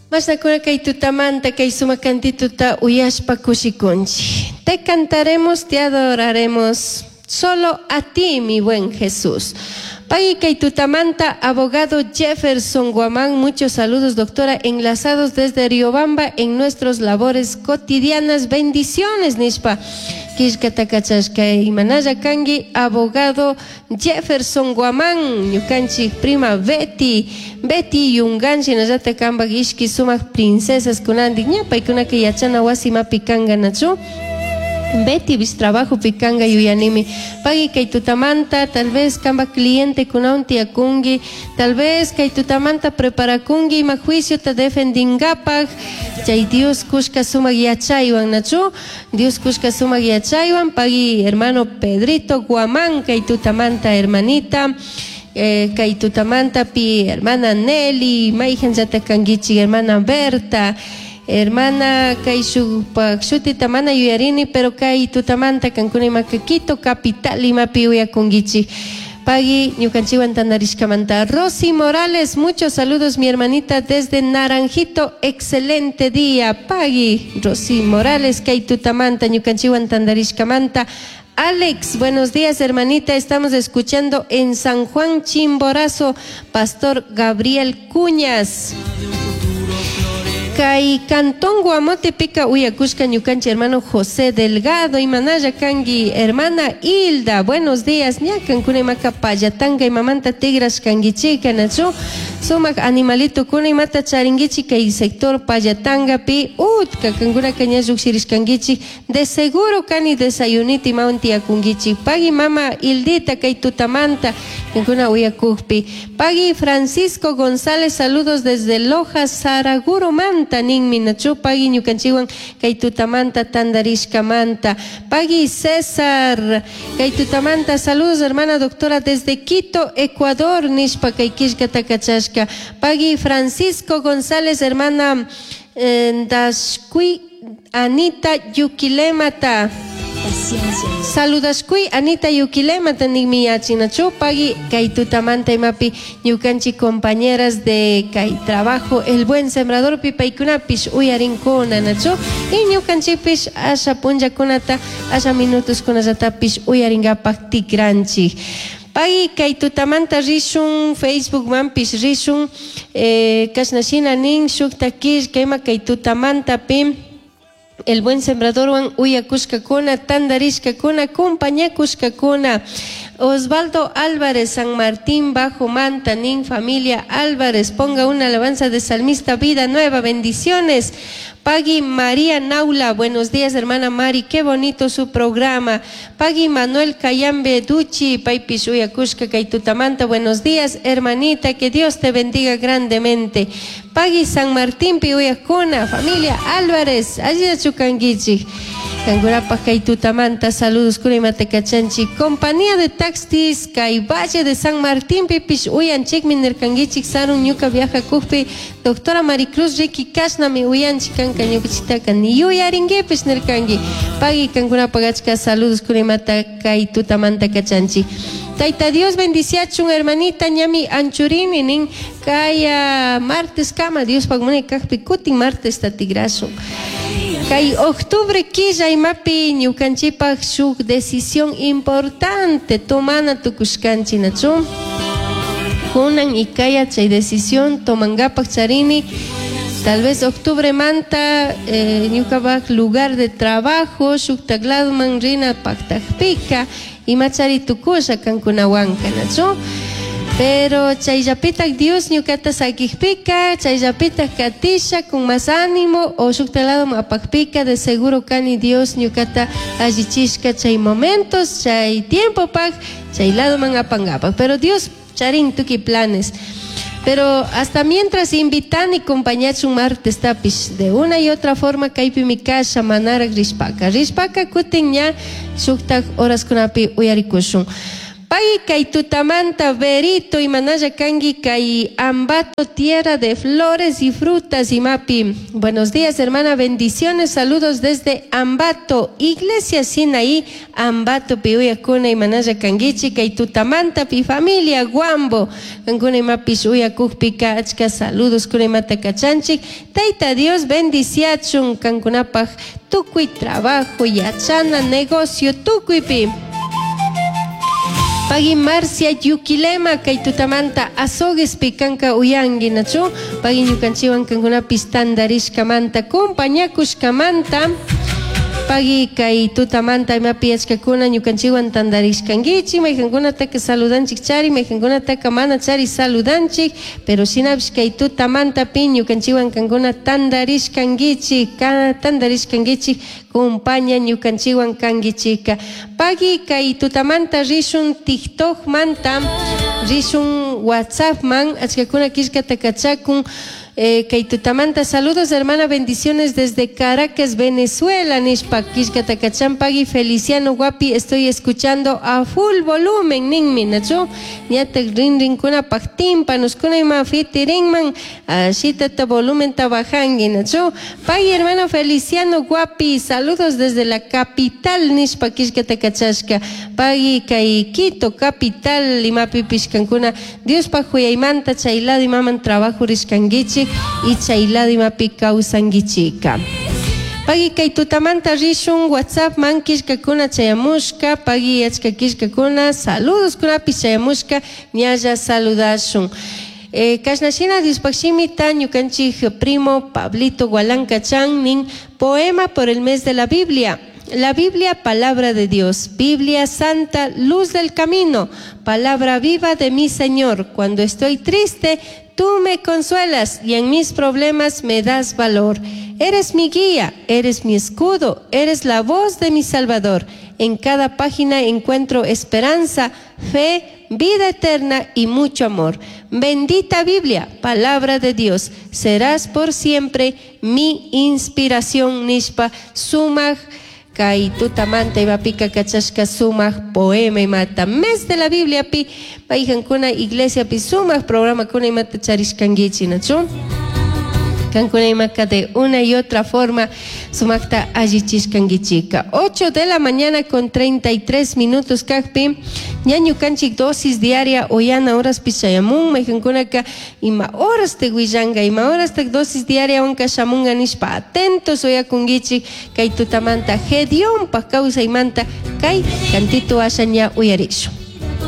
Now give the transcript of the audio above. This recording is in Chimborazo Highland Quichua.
Mashnakuna kay tutamanta kay sumak cantituta uyashpa kushikunchik. Te cantaremos, te adoraremos. Solo a ti, mi buen Jesús. Pagui kay tutamanta, abogado Jefferson Guamán, muchos saludos, doctora, enlazados desde Riobamba en nuestras labores cotidianas. Bendiciones, nishpa. Killkata kachashka imanalla kanki, abogado Jefferson Guamán, ñukanchik prima Betty, Betty Yungan, shinallata kampak ishki sumak princesas kunandik, ña paykunaka yachana wasimapi kanka nachu. Betty bis trabajo kanga yuyanimi. Pagui kay tutamanta, tal vez kamba cliente kunawan tiyakunki, tal vez kay tutamanta preparakunki ima juicio ta defendingapak, chay Dios kushka sumak yachaywan nachu, Dios kushka sumak yachaywan, pagui hermano Pedrito Guamán kay tutamanta hermanita, kay tutamanta pi hermana Nelly, mayhanllata kankichik hermana Berta, hermana kay shukpak shutita mana yuyarini, pero kay tutamanta kankuna imaka Quito capital imapi uyakunkichik. Pagui ñukanchikwan tandarishkamanta. Rosy Morales, muchos saludos mi hermanita desde Naranjito, excelente día. Pagui Rosy Morales, kay tutamanta ñukanchikwan tandarishkamanta. Alex, buenos días hermanita, estamos escuchando en San Juan Chimborazo, Pastor Gabriel Cuñas. Kay Cantón Guamote pica uyakushka ñukanchik hermano José Delgado imanalla kanki hermana Hilda, buenos días, ña kankuna imaka pallatanga imamanta tigras kankichika nachu sumak animalito kuna imata charinkichik kay sector pallatangapi utka kankunaka ña llukshirishkankichik de seguro kani desayunita imawan tiyakunkichik. Pagui mama Hildita kay tutamanta kankuna uyakukpi. Pagui Francisco González, saludos desde Loja, Saraguro manta ninmi nachu pagui ñukanchikwan kay tutamanta tandarishkamanta. Pagui César kay tutamanta, saludos hermana doctora desde Quito, Ecuador nishpa kay killkata kachashka. Pagui Francisco González, hermana Dashkui Anita Yukilemata. Paciencia. Saludashkuy Anita Yukilemata ninmi yachinachu pagui kay tutamanta imapi ñukanchik compañeras de kay trabajo El Buen Sembrador pi paykunapish uyarinkuna nachu y ñukanchikpish asha punllakunata asha minutos kunallatapish uyarinkapak tikranchik. Pagui kay tutamanta rishun Facebook manpish rishun, kashna shina nin shukta killka ima kay tutamanta pi El Buen Sembradorwan uyakushkakuna, tandarishkakuna, compañakushkakuna. Osvaldo Álvarez, San Martín Bajo Manta, nin familia Álvarez, ponga una alabanza de salmista, vida nueva, bendiciones. Pagui María Naula, buenos días hermana Mari, qué bonito su programa. Pagui Manuel Cayambe Duchi, paypish uyakushka kay tutamanta, buenos días hermanita, que Dios te bendiga grandemente. Pagui San Martín pi uyakuna, familia Álvarez, allillachu kankichik. Kankunapaj kay tutamanta, saludos kuna imata kachanchik. Compañía de taxis kay Valle de San Martín pipish uyanchikmi nirkankichik, sarun ñuka viajakukpi, doctora Maricruz Ricky kashnami uyanchik kanka ñukanchiktaka ni yuyarinkipish nirkanki. Pagui kankunapaj achka saludos kuna imata kay tutamanta kachanchik. Tayta Dios bendiciachun hermanita ñami anchurini nin kaya martes kama Diospaj munay kajpi kutin martes tigrashun. Kay octubre killa imapi ñukanchikpaj shuk decisión importante tomana tukushkanchik nachu. Kunan y kaya chay decisión tomangapak charini. Tal vez octubre manta, ñukapaj lugar de trabajo shuktak ladoman rina paktakpika imachari tukusha kankunawanka nachu. Pero chayllapitak Dios ñukata sakikpika, chayllapitak katisha con más ánimo o shuktak ladoman apakpika de seguro kani Dios ñukata allichishka chay momentos, chay tiempo pak, chay ladoman apangapak. Pero Dios charin tuki planes. Pero hasta mientras invitan y compañachun martes tapish, de una y otra forma kaypi mi kasha manarak rishpaka. Rishpaka kutin ña shuktak horas kunapi uyarikushun. Pay kay tutamanta Berito imanalla kanki kay Ambato tierra de flores y frutas imapi. Buenos días hermana, bendiciones, saludos desde Ambato, Iglesia Sinaí, Ambato pi uyakuna imanalla kankichik kay tutamanta pi familia Guambo. Kankuna imapish uyakukpika achka saludos kuna imata kachanchik. Tayta Dios bendiciachun kankunapaj tukuy trabajo, yachana, negocio tukuypi. Pagui Marcia Yuquilema kay tutamanta azoguespi kanka uyanki nachu pagui ñukanchikwan kankunapish tantarishkamanta compañakushkamanta pagui kay tutamanta imapi achkakuna ñukanchikwan tantarishkankichik maykankunataka saludanchik chari maykankunataka mana chari saludanchik pero shinapish kay tutamantapi ñukanchikwan kankuna tantarishkankichik tantarishkankichik compaña ñukanchikwan kankichikka pagui kay tutamanta rishun TikTokmanta rishun WhatsAppman achkakuna killkata kachakun kay tutamanta saludos hermana bendiciones desde Caracas Venezuela nishpa killkata kachan pagui Feliciano Guapi estoy escuchando a full volumen ninmi nachu ñatak rinrinkunapaj tímpanos ima fitirinman ashitata volumenta bajanki nachu pagui hermano Feliciano Guapi saludos desde la capital nishpa killkata kachashka pagui kay Quito capital imapipish kankuna Diospaj huyaymanta chay lado imaman trabajo rishkankichik y chay lado imapi kawsankichika. Pagui kay tutamanta rishun WhatsApp man killkakuna chayamushka pagui achka killkakuna saludos kunapish chayamushka ñalla saludashun. Kashna shina Diospaj shimita ñukanchik primo Pablito Gualanca Chan nin poema por el mes de la Biblia. La Biblia, palabra de Dios, Biblia santa, luz del camino, palabra viva de mi Señor. Cuando estoy triste, tú me consuelas y en mis problemas me das valor. Eres mi guía, eres mi escudo, eres la voz de mi Salvador. En cada página encuentro esperanza, fe, vida eterna y mucho amor. Bendita Biblia, palabra de Dios, serás por siempre mi inspiración. Nishpa sumaj kay tutamanta imapika kachashka sumak poema imata mes de la Biblia pi maykankuna iglesia pi sumak programakuna imata charishkankichik nachu kankuna imaka de una y otra forma sumakta allichishkankichika 8 de la mañana con 33 minutos kakpi ña ñukanchik dosis diaria uyana horaspi chayamun maykankunaka ima horastak willanka ima horastak dosis diaria wanka shamunga nishpa atentos uyakunkichik kay tutamanta Gedeonpak kawsaymanta kay cantito asha ña uyarishun.